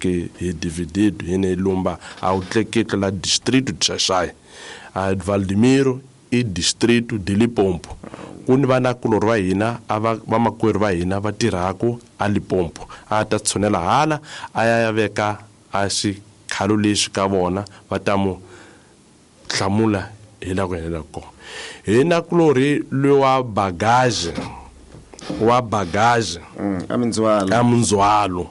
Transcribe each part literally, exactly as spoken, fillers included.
Porque hi dividido hi ne lumba a wu tleketla la distrito de Xaxai a Valdemiro i distrito de Limpopo ku ni vanakulorhi va hina a va vamakwerhu va hina va tirhaku a Limpopo a ta tshunela hala a ya ya veka a xikhalo lexi ka vona va ta mu hlamula hi la ku helela kona hi nakulorhi lowa bagage wa bagage a mindzhwalo a mindzhwalo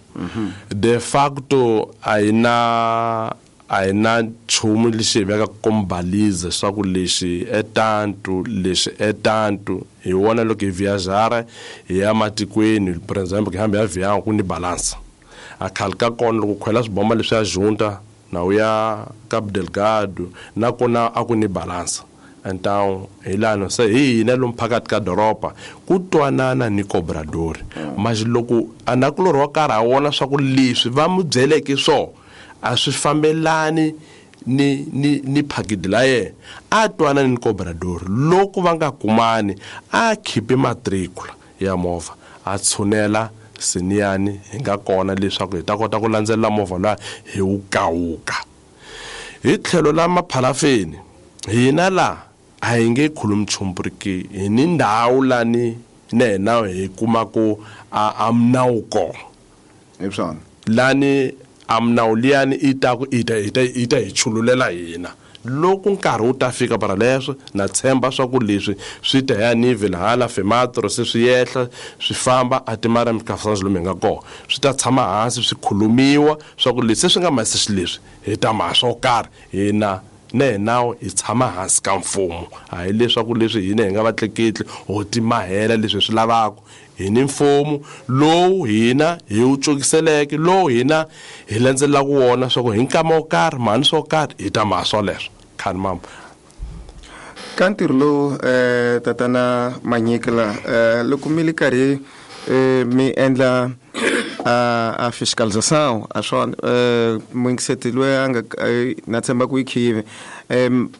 de facto a hi na a hi na nchumu lexi hi vekaka kombaliza swa ku lexi e tantu lexi e tantu hi wona loko hi viajara hi ya matikweni for example hi hambi ya viyango ku ni balansa a khale ka kona loko khwela swibomba leswi ya junta na u ya Cabo Delgado nakona a ku ni balansa então hi lano se hi hina lomu phakathi ka doroba ku twanana ni cobrador mas loko anakulorhi wa karhi a vona swa ku leswi va mu byeleke swona a swi fambelani ni ni ni phakiti la yena a twanani ni cobrador loko va nga kumani a khipi matricula ya movha a tshunela siniyani hi nga kona leswaku hi ta kota ku landzelela movha luya hi wu kawuka hi tlhelo la maphalafeni hina la a hi nge khulumi nchumu porque hi ni ndhawu lani na hina hi kumaku a a minawu kona hi swona lani a minawu liyani i ta ku i ta i ta i ta hi chululela hina loko nkarhi wu ta fika para leswo na tshemba swa ku leswi swi ta ya nivel hala fematro se swi yehla swi famba a timara mikafana lomu hi nga kona swi ta tshama hansi swi khulumiwa swa ku leswi se swi nga masi xileswi hi ta ma swo karhi hina na hina hi tshama hansi ka mfumo a hi leswaku leswi hina hi nga vatleketli ho timahela leswi hi swi lavaka hi ni mfumo lowu hina hi wu cukiseleke lowu hina hi landzelelaka wona swa ku hi nkama wo karhi mhani swo karhi hi ta maha swoleswo khani mama ka ntirho lowu um tatana Manyikela um loko mi li karhi um mi endla a a fiscalização a swona um muyingiseti loyi a nga na tshemba ku yi khive um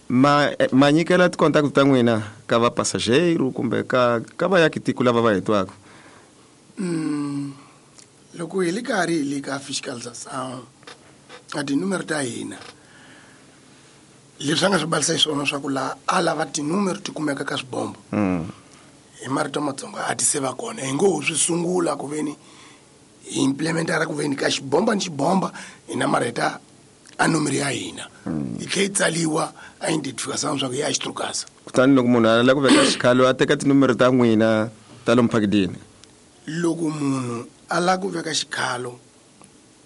ma ma nyikela ti-contact ta n'wina ka va passageiro kumbe ka ka vayaki tiko lava va hi twaka Mm, loko hi le karhi hi le ka fiscalização a tinumero ta hina leswi a nga swi balisa hi swona swa ku laha a lava tinumero ti kumeka ka swibombo mm. hi marito matsongo a ti se va kona hi ngo ho swi sungula ku veni hi implementara ku veni ka xibomba ni xibomba hi namarheta a nomero ya hina yi tlhe yi tsaliwa a identification swa ku ya xitrukasa Kutani loko munhu a lava ku veka xikhalo a teka tinumero ta n'wina ta lomu phakidini loko munhu a lava ku veka xikhalo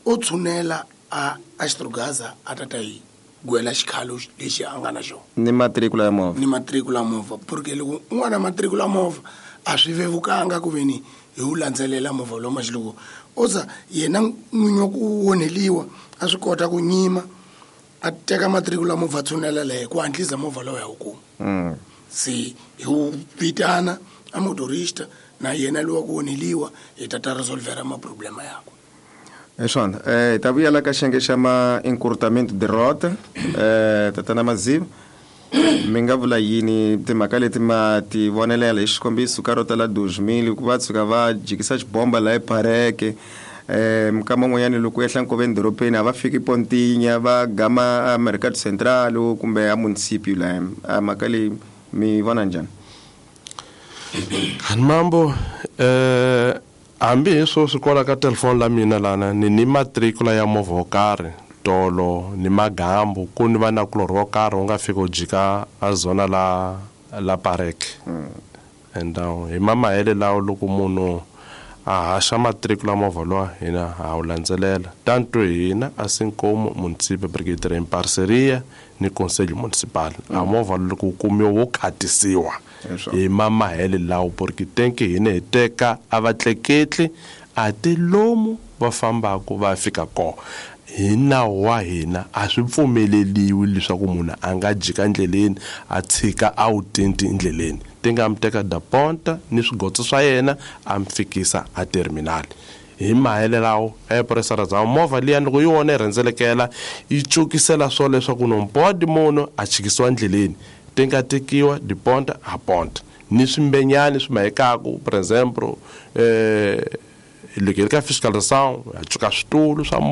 o tshunela a a xitrukasa a ta ta yi gwela xikhalo lexi a nga na xona ni matricula ya movha ni matricula movha porque loko un'wana matricula movha a swi vevukanga ku veni hi wu landzelela movha lowu maxi loko o za yena n'winyi wa ku onheliwa a swi kota ku nyima a teka matricula movha a tshunela lehe ku hatlisa movha lowu ya wu kuma mm. se hi wu vitana a motorista na yena lowa ku onheliwa hi ta ta resolvera maproblema yakwe hi swona eh hi ta vuyela ka xiyenge xa ma encurtamento de rota eh tatana Maziva mi nga vula yini timhaka leti ma ti vonelela hi xikombiso ka rota la dos mil ku va tshuka va jikisa xibomba laha epareke eh minkama n'wanyani loko ehla nkoveni doropeni a va fiki pontinya va gama a mercado central kumbe a municipio laha a mhaka leyi mi vona njhani Hani mambo eh hambi hi sweswi kwala ka telefoni la mina lana ni ni matricula ya movha wo karhi tolo ni magambu ku ni vanakulorhi wo karhi wu nga fika u jika a zona la la pareke and uh, hi mamahele lawo loko munhu a haxa matricula movha lowa hina ha wu landzelela tanto hina assim como município porque hi tirha em parceria ni conselho municipal a movha loko wu kumiwa wo khatisiwa hi mamahele lawo porque tenke hina hi teka a vatleketli a ti lomu va fambaka va fika kona hi nawu wa hina a swi pfumeleliwi leswaku munhu a nga jika ndleleni a tshika a wu tinti ndleleni ti nga mi teka da ponta ni swigotso swa yena a mi fikisa a terminal hi mahele lawo epuresara za movha liya loko yi wona yi rhendzelekela yi cukisela swo leswaku nompodi munhu a chikisiwa ndleleni ti nga tekiwa diponta a ponta ni swimbenyani swi mahekaku por exemplo eh loko hi ri ka fiscalização ha cuka switulu swa